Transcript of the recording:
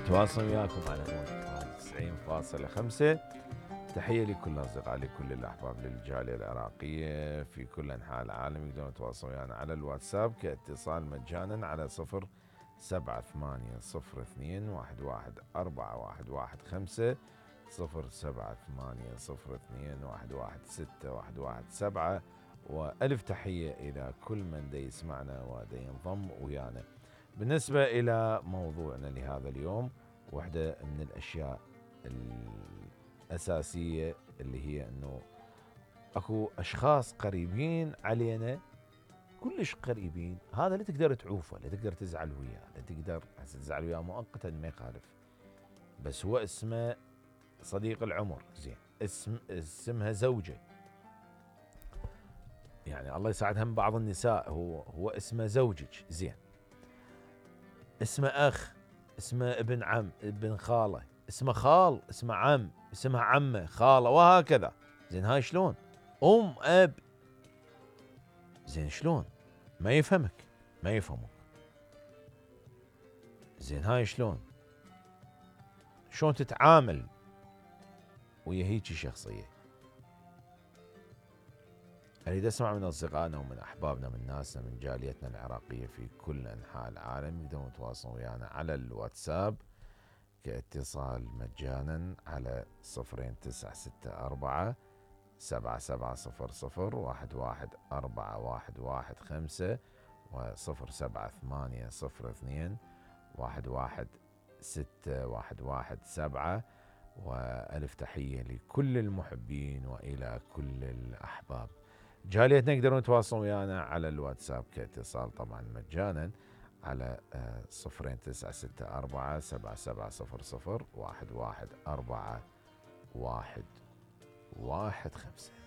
تواصل وياكم على موجة 90.5. تحية لكل الأصدقاء، لكل الأحباب، للجالية العراقية في كل أنحاء العالم. يقدرون يتواصلون ويانا على الواتساب كاتصال مجانا على 07802111415 07802116117. وألف تحية إلى كل من دي يسمعنا ودي ينضم ويانا. بالنسبة إلى موضوعنا لهذا اليوم، واحدة من الأشياء الأساسية اللي هي أنه أكو أشخاص قريبين علينا، كلش قريبين، هذا لا تقدر تعوفه، لا تقدر تزعل وياه، لا تقدر تزعل وياه مؤقتا ما يخالف، بس هو اسمه صديق العمر. زين، اسمها زوجة، يعني الله يساعد هم بعض النساء هو اسمه زوجك. زين، اسمه أخ، اسمه ابن عم، ابن خالة، اسمه خال، اسمه عم، اسمها عمة، خالة، وهكذا. زين، هاي شلون؟ أم، أب. زين، شلون؟ ما يفهمك، ما يفهمك. زين، هاي شلون تتعامل ويا هيجي شخصية؟ أريد أسمع من أصدقائنا ومن أحبابنا، من ناسنا، من جاليتنا العراقية في كل أنحاء العالم. يقدرون يتواصلون ويانا على الواتساب كاتصال مجانا على 0964 7700 11415 و 07802 116117. وألف تحية لكل المحبين وإلى كل الأحباب. جاليتنا يقدرون يتواصلون ويانا على الواتساب كاتصال طبعا مجانا على 0964 7700 11415.